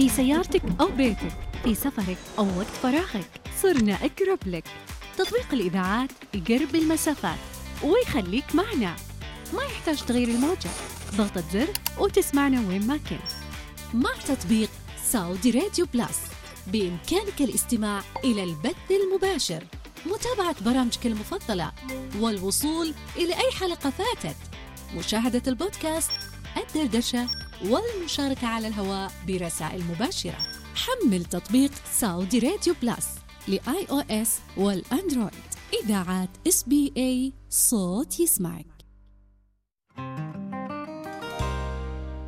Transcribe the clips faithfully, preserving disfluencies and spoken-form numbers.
في سيارتك أو بيتك، في سفرك أو وقت فراغك، صرنا أقرب لك. تطبيق الإذاعات يقرب المسافات ويخليك معنا، ما يحتاج تغير الموجة، ضغطة زر وتسمعنا وين ما كنت. مع تطبيق سعودي راديو بلاس بإمكانك الاستماع إلى البث المباشر، متابعة برامجك المفضلة، والوصول إلى أي حلقة فاتت، مشاهدة البودكاست، الدردشة، والمشاركة على الهواء برسائل مباشرة. حمل تطبيق سعودي راديو بلاس لآي أو إس والأندرويد. إذاعات إس بي إيه، صوت يسمعك.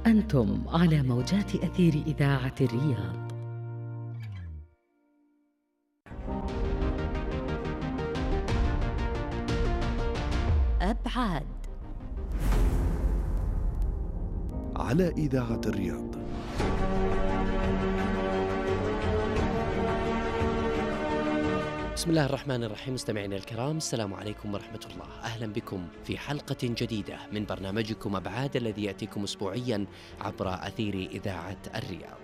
أنتم على موجات أثير إذاعة الرياض. أبعاد على إذاعة الرياض. بسم الله الرحمن الرحيم. مستمعينا الكرام، السلام عليكم ورحمة الله. أهلا بكم في حلقة جديدة من برنامجكم أبعاد الذي يأتيكم أسبوعيا عبر أثير إذاعة الرياض.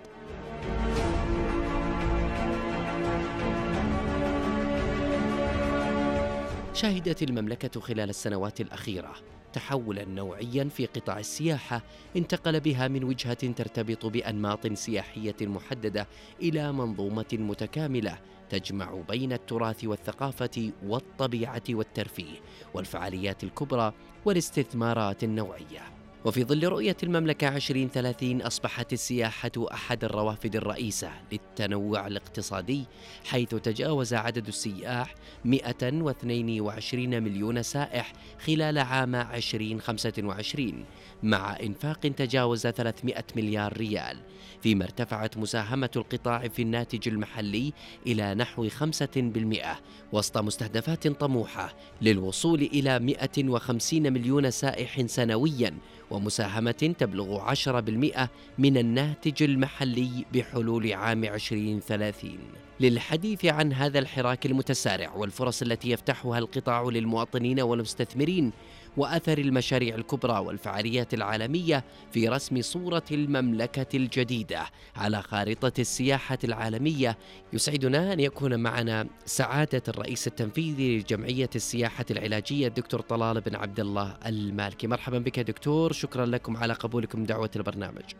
شهدت المملكة خلال السنوات الأخيرة تحولاً نوعياً في قطاع السياحة انتقل بها من وجهة ترتبط بأنماط سياحية محددة إلى منظومة متكاملة تجمع بين التراث والثقافة والطبيعة والترفيه والفعاليات الكبرى والاستثمارات النوعية. وفي ظل رؤية المملكة عشرين ثلاثين أصبحت السياحة أحد الروافد الرئيسة للتنوع الاقتصادي، حيث تجاوز عدد السياح مئة واثنين وعشرين مليون سائح خلال عام عشرين خمسة وعشرين، مع إنفاق تجاوز ثلاثمئة مليار ريال، فيما ارتفعت مساهمة القطاع في الناتج المحلي إلى نحو خمسة بالمئة وسط مستهدفات طموحة للوصول إلى مئة وخمسين مليون سائح سنوياً، ومساهمة تبلغ عشرة بالمئة من الناتج المحلي بحلول عام عشرين ثلاثين. للحديث عن هذا الحراك المتسارع والفرص التي يفتحها القطاع للمواطنين والمستثمرين، وأثر المشاريع الكبرى والفعاليات العالمية في رسم صورة المملكة الجديدة على خارطة السياحة العالمية، يسعدنا أن يكون معنا سعادة الرئيس التنفيذي لجمعية السياحة العلاجية الدكتور طلال بن عبد الله المالكي. مرحبا بك دكتور، شكرا لكم على قبولكم دعوة البرنامج.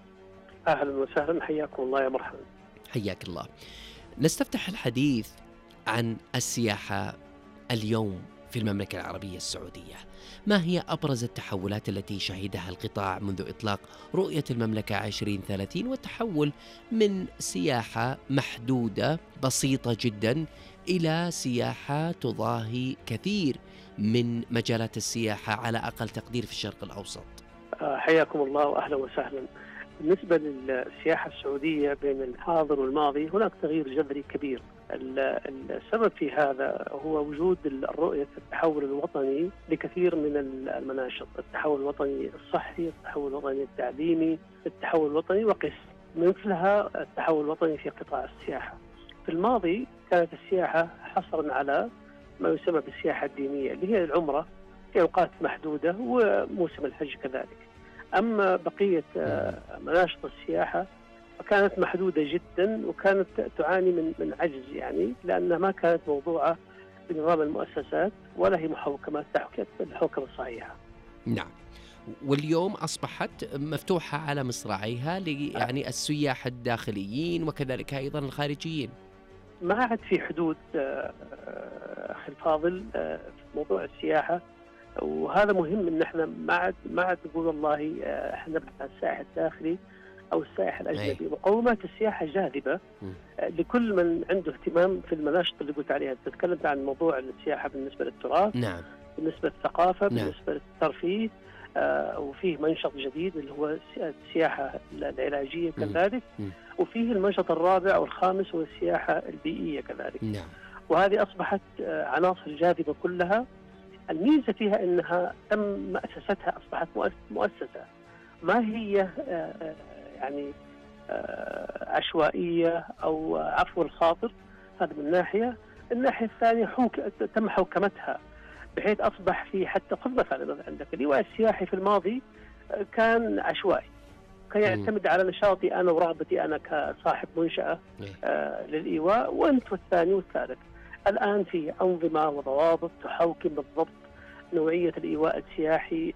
أهلا وسهلا، حياكم الله. يا مرحبا. حياك الله. نستفتح الحديث عن السياحة اليوم في المملكة العربية السعودية. ما هي أبرز التحولات التي شهدها القطاع منذ إطلاق رؤية المملكة عشرين ثلاثين، والتحول من سياحة محدودة بسيطة جدا إلى سياحة تضاهي كثير من مجالات السياحة على أقل تقدير في الشرق الأوسط؟ حياكم الله وأهلا وسهلا. بالنسبة للسياحة السعودية بين الحاضر والماضي هناك تغيير جذري كبير. السبب في هذا هو وجود الرؤية التحول الوطني لكثير من المناشط، التحول الوطني الصحي، التحول الوطني التعليمي، التحول الوطني وقس، مثلها التحول الوطني في قطاع السياحة. في الماضي كانت السياحة حصرا على ما يسمى بالسياحة الدينية اللي هي العمرة في أوقات محدودة وموسم الحج كذلك. أما بقية مناشط السياحة فكانت محدودة جدا وكانت تعاني من من عجز، يعني لأنها ما كانت موضوعة بنظام المؤسسات ولا هي محوكمات تحت الحوكمة الصحيحة. نعم. واليوم أصبحت مفتوحة على مصراعيها يعني السياح الداخليين وكذلك أيضا الخارجيين. ما عاد في حدود أخي الفاضل في موضوع السياحة، وهذا مهم ان احنا ما عاد ما عاد نقول والله احنا نبحث عن السائح الداخلي او السائح الاجنبي. مقومات السياحه جاذبه لكل من عنده اهتمام في المناشط اللي قلت عليها. تكلمت عن موضوع السياحه بالنسبه للتراث، نعم، بالنسبه للثقافه، نعم، بالنسبه للترفيه، آه وفيه منشط جديد اللي هو السياحه العلاجيه كذلك، وفيه المنشط الرابع والخامس هو السياحه البيئيه كذلك. نعم. وهذه اصبحت عناصر جاذبه كلها. الميزة فيها أنها تم مؤسستها، أصبحت مؤسسة ما هي يعني عشوائية أو عفو الخاطر. هذا من ناحية. الناحية الثانية حوك تم حوكمتها بحيث أصبح في حتى خذ مثلا عندك اللواء السياحي في الماضي كان عشوائي، كان يعتمد على نشاطي أنا ورغبتي أنا كصاحب منشأة آه للإيواء، وأنت والثاني والثالث. الآن في أنظمة وضوابط تحوكم بالضبط نوعية الإيواء السياحي،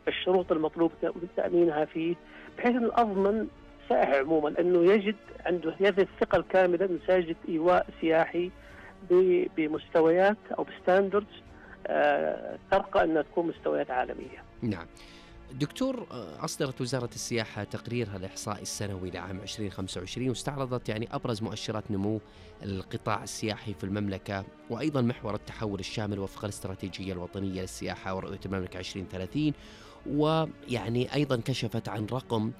الشروط المطلوب تأمينها فيه، بحيث أن أضمن سائح عموما أنه يجد عنده هذه الثقة الكاملة أنه سيجد إيواء سياحي بمستويات أو بستاندردز آه ترقى أنها تكون مستويات عالمية. نعم دكتور، أصدرت وزارة السياحة تقريرها الإحصائي السنوي لعام عشرين وخمسة وعشرين واستعرضت يعني أبرز مؤشرات نمو القطاع السياحي في المملكة، وأيضا محور التحول الشامل وفق الاستراتيجية الوطنية للسياحة ورؤية المملكة عشرين ثلاثين، ويعني أيضا كشفت عن رقم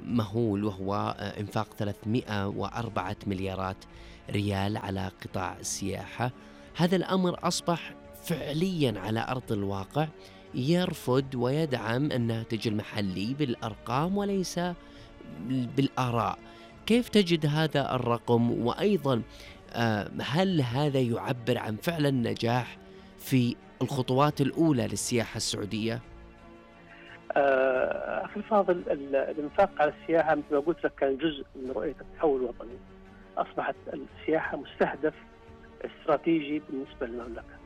مهول وهو إنفاق ثلاثمئة وأربعة مليارات ريال على قطاع السياحة. هذا الأمر أصبح فعليا على أرض الواقع يرفض ويدعم الناتج المحلي بالأرقام وليس بالآراء. كيف تجد هذا الرقم؟ وأيضا هل هذا يعبر عن فعلا نجاح في الخطوات الأولى للسياحة السعودية؟ أخي الفاضل، الإنفاق على السياحة مثل ما قلت لك كان جزء من رؤية التحول الوطني. أصبحت السياحة مستهدف استراتيجي بالنسبة للمملكة،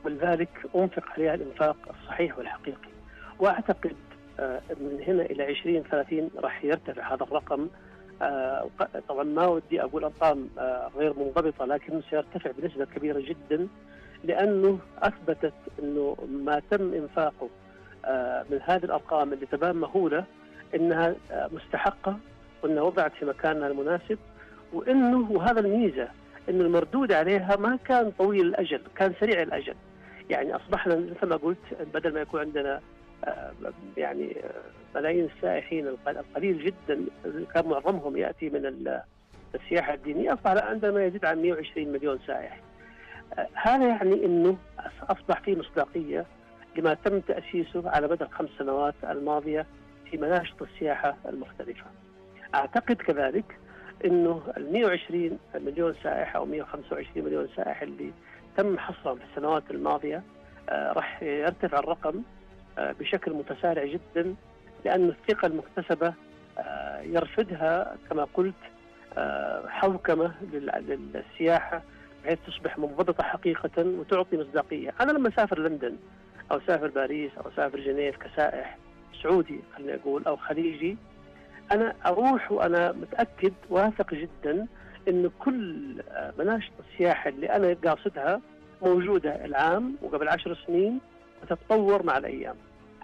ولذلك أنفق عليها الإنفاق الصحيح والحقيقي. وأعتقد من هنا إلى عشرين ثلاثين راح يرتفع هذا الرقم. طبعا ما ودي أقول أرقام غير منضبطة، لكن سيرتفع بنسبة كبيرة جدا، لأنه أثبتت أنه ما تم إنفاقه من هذه الأرقام اللي تبان مهولة إنها مستحقة، وإنها وضعت في مكانها المناسب، وإنه وهذا الميزة إنه المردود عليها ما كان طويل الأجل، كان سريع الأجل. يعني أصبحنا مثل ما قلت بدل ما يكون عندنا يعني ملايين السائحين القليل جدا كان معظمهم يأتي من السياحة الدينية، أصبح عندنا ما يزيد عن مئة وعشرين مليون سائح. هذا يعني إنه أصبح فيه مصداقية لما تم تأسيسه على مدى الخمس سنوات الماضية في مناشط السياحة المختلفة. أعتقد كذلك إنه ال مئة وعشرين مليون سائح أو مئة وخمسة وعشرين مليون سائح اللي تم حصرهم في السنوات الماضية آه راح يرتفع الرقم آه بشكل متسارع جدا، لأن الثقة المكتسبة آه يرفدها كما قلت آه حوكمة للسياحة بحيث تصبح منضبطة حقيقة وتعطي مصداقية. أنا لما أسافر لندن أو أسافر باريس أو أسافر جنيف كسائح سعودي خليني أقول أو خليجي، أنا أروح وأنا متأكد واثق جدا إن كل مناشط السياحة اللي أنا قاصدها موجودة العام وقبل عشر سنين وتتطور مع الأيام.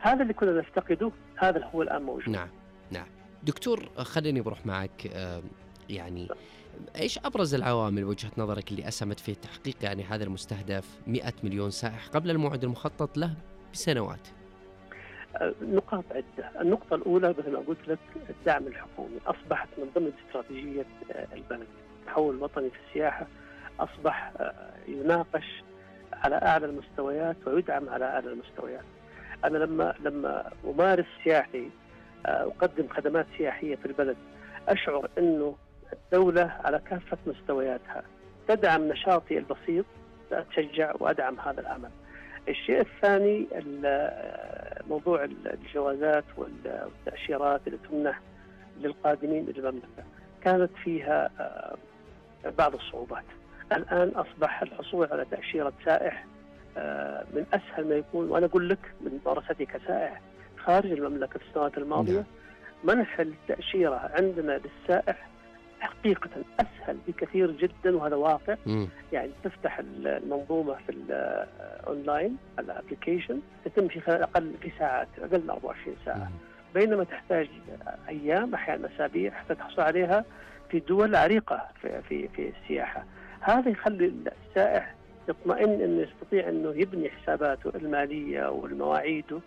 هذا اللي كنا نفتقده، هذا هو الآن موجود. نعم نعم دكتور، خليني بروح معك يعني إيش أبرز العوامل وجهة نظرك اللي أسهمت في تحقيق يعني هذا المستهدف مئة مليون سائح قبل الموعد المخطط له بسنوات؟ نقاط عدة. النقطة الأولى مثل ما قلت لك الدعم الحكومي. أصبحت من ضمن استراتيجية البلد التحول الوطني في السياحة، أصبح يناقش على أعلى المستويات ويدعم على أعلى المستويات. أنا لما لما أمارس سياحي أقدم خدمات سياحية في البلد، أشعر أنه الدولة على كافة مستوياتها تدعم نشاطي البسيط، أتشجع وأدعم هذا العمل. الشيء الثاني موضوع الجوازات والتأشيرات اللي تمنح للقادمين إلى المملكة، كانت فيها بعض الصعوبات. الآن أصبح الحصول على تأشيرة سائح من أسهل ما يكون، وأنا أقول لك من ممارستي كسائح خارج المملكة في السنوات الماضية، منح التأشيرة عندنا للسائح حقيقة أسهل بكثير جدا، وهذا واقع. م. يعني تفتح المنظومة في الأونلاين الابليكيشن تتم في خلال أقل في ساعات، أقل من أربعة وعشرين ساعة، م. بينما تحتاج أيام أحيانا أسابيع حتى تحصل عليها في دول عريقة في في في السياحة. هذا يخلي السائح يطمئن إنه يستطيع إنه يبني حساباته المالية والمواعيده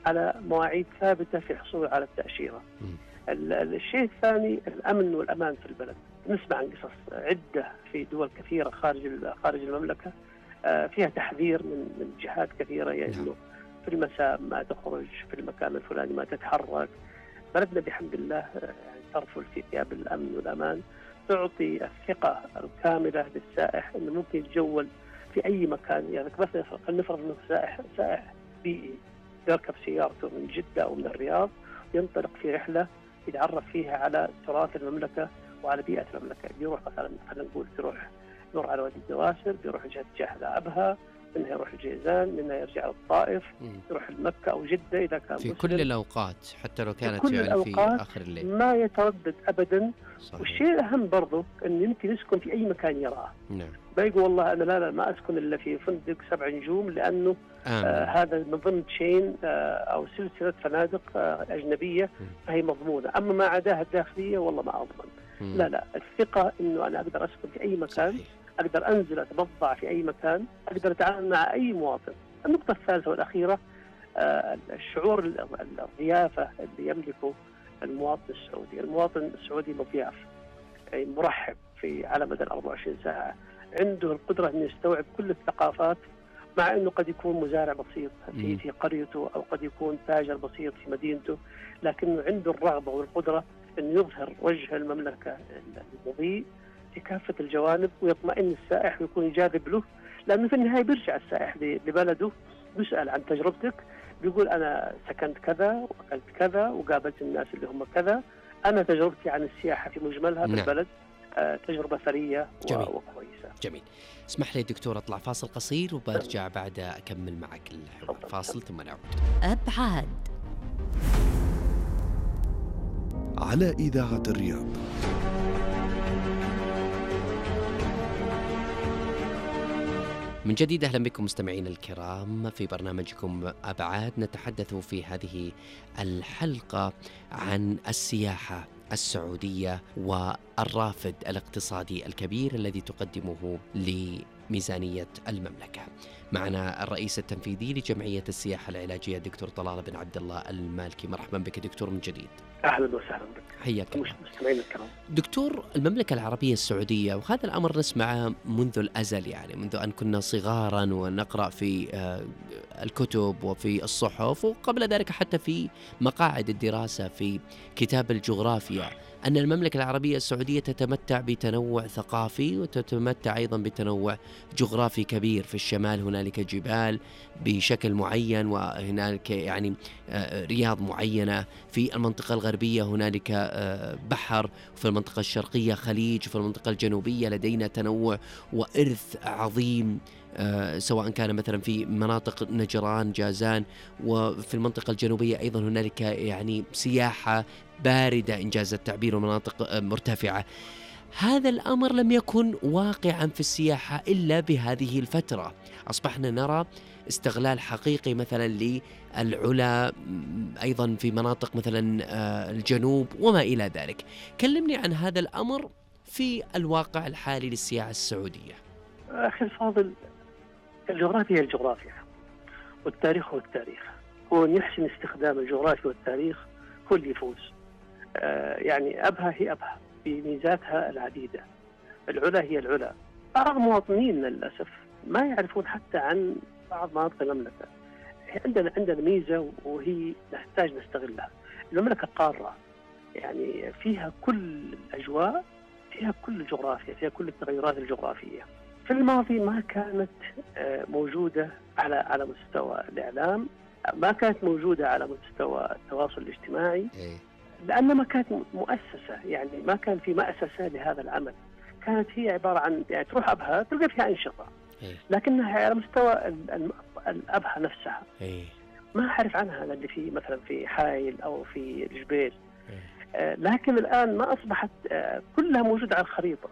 على مواعيد ثابتة في الحصول على التأشيرة. م. الشيء الثاني الأمن والأمان في البلد. نسمع عن قصص عدة في دول كثيرة خارج خارج المملكة فيها تحذير من من جهات كثيرة، يعني في المساء ما تخرج، في المكان الفلاني ما تتحرك. بلدنا بحمد الله يعني ترفل في ثياب الأمن والأمان، تعطي الثقة الكاملة للسائح إنه ممكن يتجول في أي مكان. يعني مثلا خلينا نفرض إنه سائح سائح بيئي يركب سيارته من جدة أو من الرياض ينطلق في رحلة يتعرف فيها على تراث المملكة وعلى بيئة المملكة. بيروح مثلا خلينا نقول بيروح يمر على وادي الدواسر، بيروح جهة جهة أبها، منها يروح الجيزان، منها يرجع للطائف، يروح لمكة أو جدة إذا كان في مسلم. كل الأوقات حتى لو كانت في يعني في آخر الليل ما يتردد أبدا. صحيح. والشيء الأهم برضو أن يمكن يسكن في أي مكان يراه. نعم. ما يقول والله أنا لا لا ما أسكن إلا في فندق سبع نجوم لأنه آه هذا من ضمن تشين آه أو سلسلة فنادق آه أجنبية م. فهي مضمونة، أما ما عداها الداخلية والله ما أضمن. م. لا لا الثقة إنه أنا أقدر أسكن في أي مكان. صحيح. أقدر أنزل أتبضع في أي مكان، أقدر أتعامل مع أي مواطن. النقطة الثالثة والأخيرة آه الشعور الضيافة اللي يملكه المواطن السعودي. المواطن السعودي مضياف، يعني مرحب في على مدى أربعة وعشرين ساعة، عنده القدرة أن يستوعب كل الثقافات، مع أنه قد يكون مزارع بسيط في في قريته أو قد يكون تاجر بسيط في مدينته، لكنه عنده الرغبة والقدرة أن يظهر وجه المملكة المضيء في كافة الجوانب، ويطمئن السائح ويكون جاذب له، لأنه في النهاية بيرجع السائح لبلده بيسأل عن تجربتك، بيقول أنا سكنت كذا وأكلت كذا وقابلت الناس اللي هم كذا، أنا تجربتي عن السياحة في مجملها في البلد آه تجربة ثرية وكويسة. جميل. اسمح لي دكتور أطلع فاصل قصير وبرجع بعد أكمل معك الحوار. فاصل ثم نعود. أبعاد على إذاعة الرياض. من جديد أهلا بكم مستمعين الكرام في برنامجكم أبعاد. نتحدث في هذه الحلقة عن السياحة السعودية والرافد الاقتصادي الكبير الذي تقدمه لميزانية المملكة. معنا الرئيس التنفيذي لجمعية السياحة العلاجية دكتور طلال بن عبد الله المالكي. مرحبا بك دكتور من جديد. أهلا وسهلا بك. حياك الله. مستمعين الكرام. دكتور، المملكة العربية السعودية، وهذا الأمر نسمعه منذ الأزل، يعني منذ أن كنا صغارا ونقرأ في الكتب وفي الصحف وقبل ذلك حتى في مقاعد الدراسة في كتاب الجغرافيا، أن المملكة العربية السعودية تتمتع بتنوع ثقافي وتتمتع أيضا بتنوع جغرافي كبير. في الشمال هنالك جبال بشكل معين وهنالك يعني رياض معينة، في المنطقة الغربية هنالك بحر، وفي المنطقة الشرقية خليج، وفي المنطقة الجنوبية لدينا تنوع وإرث عظيم، آه سواء كان مثلا في مناطق نجران جازان، وفي المنطقة الجنوبية أيضا هنالك يعني سياحة باردة إنجاز التعبير ومناطق مرتفعة. هذا الأمر لم يكن واقعا في السياحة إلا بهذه الفترة. أصبحنا نرى استغلال حقيقي مثلا للعلا أيضا في مناطق مثلا الجنوب وما إلى ذلك. كلمني عن هذا الأمر في الواقع الحالي للسياحة السعودية. أخي الفاضل، الجغرافيا هي الجغرافيا والتاريخ هو التاريخ، هو أن يحسن استخدام الجغرافيا والتاريخ هو اللي يفوز. آه يعني أبها هي أبها بميزاتها العديدة، العلا هي العلا. بعض المواطنين للأسف ما يعرفون حتى عن بعض مناطق المملكة. عندنا عندنا ميزة وهي نحتاج نستغلها. المملكة قارة، يعني فيها كل الأجواء، فيها كل الجغرافيا، فيها كل التغيرات الجغرافية. في الماضي ما كانت موجودة على على مستوى الإعلام، ما كانت موجودة على مستوى التواصل الاجتماعي، لأن ما كانت مؤسسة، يعني ما كان في مؤسسة لهذا العمل. كانت هي عبارة عن يعني تروح أبها تلقى فيها أنشطة، لكنها على مستوى الأبها نفسها ما أعرف عنها اللي في مثلا في حايل أو في الجبيل. آه لكن الآن ما أصبحت آه كلها موجودة على الخريطة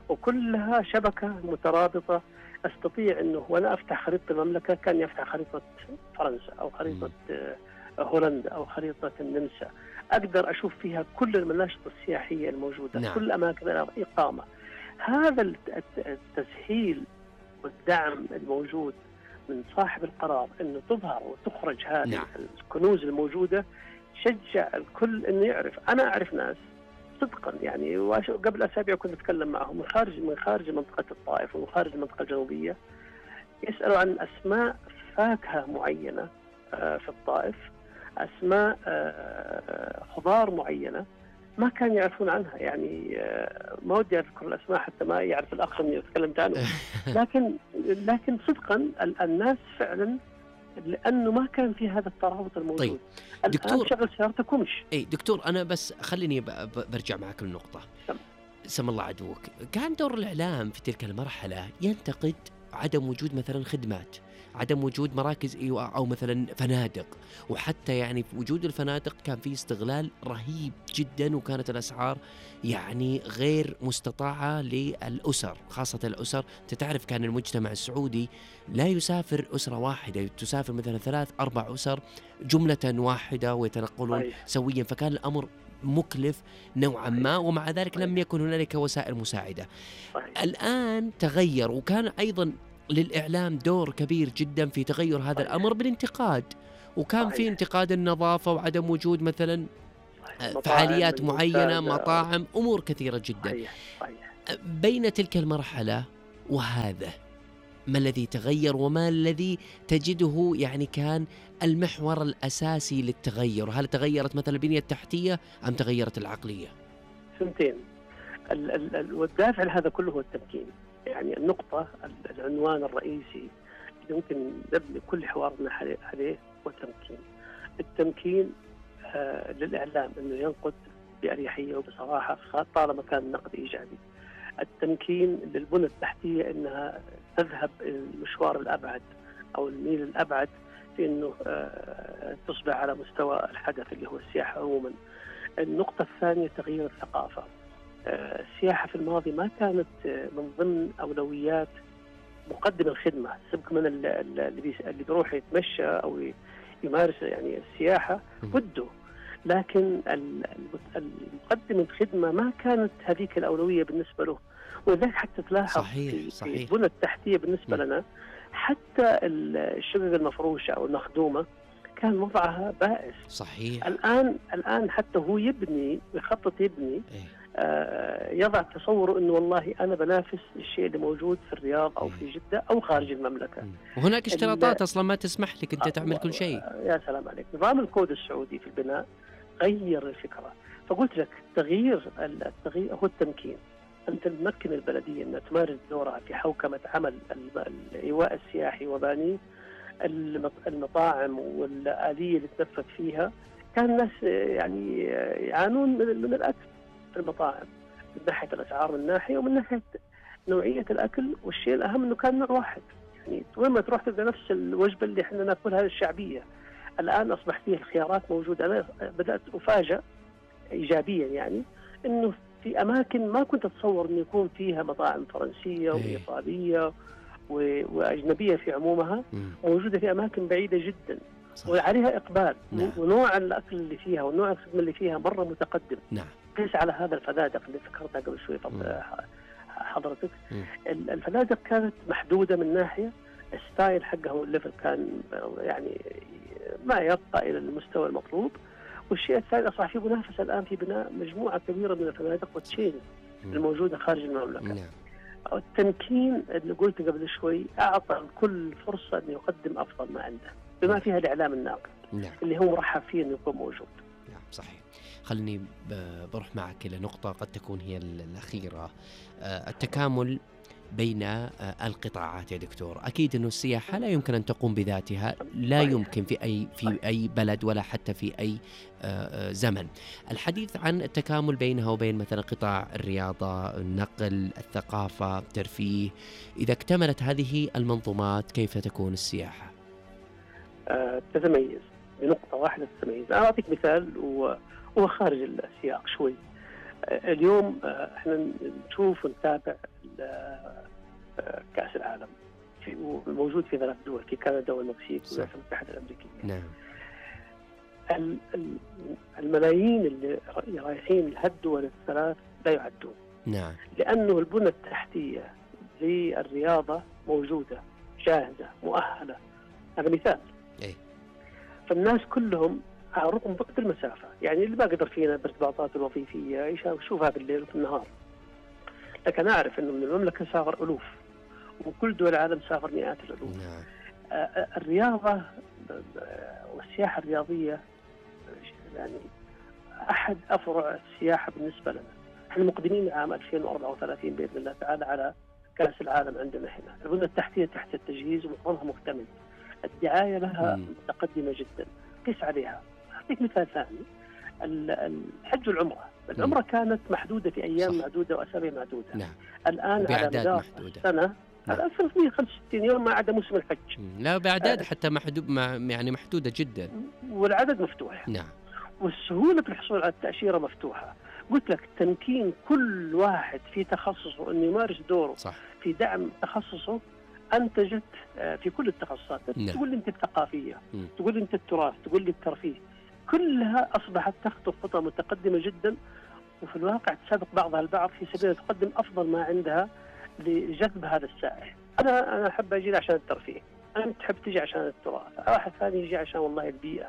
وكلها شبكة مترابطة. أستطيع أنه وأنا أفتح خريطة المملكة كان يفتح خريطة فرنسا أو خريطة آه هولندا أو خريطة النمسا، أقدر أشوف فيها كل المناشط السياحية الموجودة. نعم. كل أماكن الإقامة. هذا التسهيل والدعم الموجود من صاحب القرار أنه تظهر وتخرج هذه نعم. الكنوز الموجودة شجع الكل أنه يعرف. أنا أعرف ناس صدقا يعني قبل أسابيع كنت أتكلم معهم من خارج من خارج منطقة الطائف ومن خارج المنطقة الجنوبية، يسألوا عن أسماء فاكهة معينة في الطائف، أسماء خضار معينة ما كانوا يعرفون عنها. يعني ما ودي أذكر الأسماء حتى ما يعرف الأخ اللي تكلمت عنه، لكن لكن صدقا الناس فعلا لأنه ما كان في هذا الترابط الموجود. طيب دكتور، شغل سيارتك ومش. اي دكتور، انا بس خليني برجع معك للنقطه. سم الله عدوك، كان دور الاعلام في تلك المرحله ينتقد عدم وجود مثلا خدمات، عدم وجود مراكز ايواء او مثلا فنادق، وحتى يعني في وجود الفنادق كان في استغلال رهيب جدا، وكانت الاسعار يعني غير مستطاعه للاسر، خاصه الاسر. انت تعرف كان المجتمع السعودي لا يسافر اسره واحده، تسافر مثلا ثلاث اربع اسر جمله واحده ويتنقلون سويا، فكان الامر مكلف نوعا ما، ومع ذلك لم يكن هنالك وسائل مساعده. الان تغير، وكان ايضا للإعلام دور كبير جدا في تغير هذا صحيح. الأمر بالانتقاد، وكان صحيح. في انتقاد النظافة وعدم وجود مثلا فعاليات معينة، مطاعم، أمور كثيرة جدا. صحيح. صحيح. بين تلك المرحلة وهذا، ما الذي تغير وما الذي تجده يعني كان المحور الأساسي للتغير؟ هل تغيرت مثلا البنية التحتية أم تغيرت العقلية؟ سنتين. والدافع لهذا كله هو التمكين. يعني النقطة العنوان الرئيسي اللي ممكن نبني كل حوارنا عليه هو التمكين. التمكين آه للإعلام أنه ينقد بأريحية وبصراحة طالما كان النقد إيجابي. التمكين للبنى التحتية أنها تذهب المشوار الأبعد أو الميل الأبعد في أنه آه تصبح على مستوى الحدث اللي هو السياحة عموما. النقطة الثانية تغيير الثقافة. السياحة في الماضي ما كانت من ضمن أولويات مقدم الخدمة، سبق من اللي اللي بيروح يتمشى أو يمارس يعني السياحة وده، لكن المقدم الخدمة ما كانت هذيك الأولوية بالنسبة له. ولذلك حتى تلاحظ صحيح. صحيح. في البنى التحتية بالنسبة م. لنا حتى الشقق المفروشة أو المخدومة كان وضعها بائس. صحيح. الآن الآن حتى هو يبني يخطط يبني إيه؟ آه يضع تصوره انه والله انا بنافس الشيء اللي موجود في الرياض او في جدة او خارج المملكة. وهناك اشتراطات اصلا ما تسمح لك انت تعمل كل شيء. يا سلام عليك. نظام الكود السعودي في البناء غير الفكرة. فقلت لك تغيير التغيير هو التمكين. انت تمكن البلدية انها تمارس دورها في حوكمة عمل الايواء السياحي وبانيه، المطاعم والآلية اللي تنفذ فيها. كان الناس يعني يعانون من الأكل في المطاعم من ناحية الأسعار من ناحية، ومن ناحية نوعية الأكل، والشيء الأهم أنه كان نوع واحد. يعني وين ما تروح تلقى نفس الوجبة اللي احنا ناكلها الشعبية. الآن أصبح فيه الخيارات موجودة. أنا بدأت أفاجأ إيجابيا يعني أنه في أماكن ما كنت أتصور أن يكون فيها مطاعم فرنسية وإيطالية وأجنبية في عمومها موجودة في أماكن بعيدة جدا. صح. وعليها إقبال. نعم. ونوع الأكل اللي فيها ونوع الخدمة اللي فيها مرة متقدم. نعم. قيس على هذا الفنادق اللي ذكرتها قبل شوي حضرتك. الفنادق كانت محدودة من ناحية، الستايل حقها والليفل كان يعني ما يبقى إلى المستوى المطلوب. والشيء الثاني أصبح في منافسة الآن في بناء مجموعة كبيرة من الفنادق والتشين الموجودة خارج المملكة. نعم. التمكين اللي قلت قبل شوي أعطى الكل فرصة أن يقدم أفضل ما عنده بما فيها الإعلام الناقد. نعم. اللي هو مرحب فيه أنه يكون موجود. نعم صحيح. خلني بروح معك إلى نقطة قد تكون هي الأخيرة، التكامل بين القطاعات يا دكتور. أكيد أنه السياحة لا يمكن أن تقوم بذاتها، لا يمكن في أي في أي بلد ولا حتى في أي زمن. الحديث عن التكامل بينها وبين مثلا قطاع الرياضة، النقل، الثقافة، الترفيه، إذا اكتملت هذه المنظومات كيف تكون السياحة؟ أه تتميز بنقطة واحدة تتميز. أنا أعطيك مثال وهو خارج السياق شوي. اليوم احنا نشوف ونتابع كأس العالم في موجود في ثلاث دول، في كندا والمكسيك والولايات المتحدة الأمريكية. نعم. الملايين اللي رايحين لهالدول الثلاث لا يعدون. نعم. لأنه البنى التحتية للرياضة موجودة جاهزة مؤهلة. هذا مثال. إيه؟ فالناس كلهم على رغم ضغط المسافة، يعني اللي ما قدر فينا بارتباطات الوظيفية يشوفها بالليل وفي النهار. لكن أعرف أنه من المملكة سافر ألوف، وكل دول العالم سافر مئات الألوف. نعم. الرياضة والسياحة الرياضية يعني أحد أفرع السياحة بالنسبة لنا. احنا مقدمين عام ألفين وأربعة وثلاثين بإذن الله تعالى على كأس العالم عندنا هنا. البنية التحتية تحت التجهيز ومعظمها مكتمل. الدعاية لها مم. متقدمة جدا. قس عليها. أعطيك مثال ثاني، ال- الحج والعمرة. العمرة كانت محدودة في أيام صح. معدودة وأسابيع معدودة. نعم. الآن على بأعداد مدار محدودة. السنة نعم. على ثلاثمئة وخمسة وستين يوم ما عدا موسم الحج. مم. لا بأعداد حتى محدود مع- يعني محدودة جدا. والعدد مفتوح، نعم. والسهولة في الحصول على التأشيرة مفتوحة. قلت لك تمكين كل واحد في تخصصه أن يمارس دوره صح. في دعم تخصصه أنتجت آه، في كل التخصصات. نعم. تقول لي أنت الثقافية، مم. تقول لي أنت التراث، تقول لي الترفيه، كلها أصبحت تخطو خطى متقدمة جدا، وفي الواقع تسابق بعضها البعض في سبيل أن تقدم أفضل ما عندها لجذب هذا السائح. أنا أنا أحب أجي عشان الترفيه، أنت تحب تجي عشان التراث، واحد ثاني يجي عشان والله البيئة،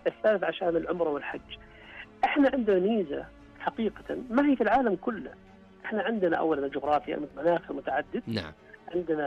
الثالث عشان العمرة والحج. احنا عندنا ميزة حقيقة ما هي في العالم كله. احنا عندنا أولا الجغرافيا، المناخ المتعدد، نعم. عندنا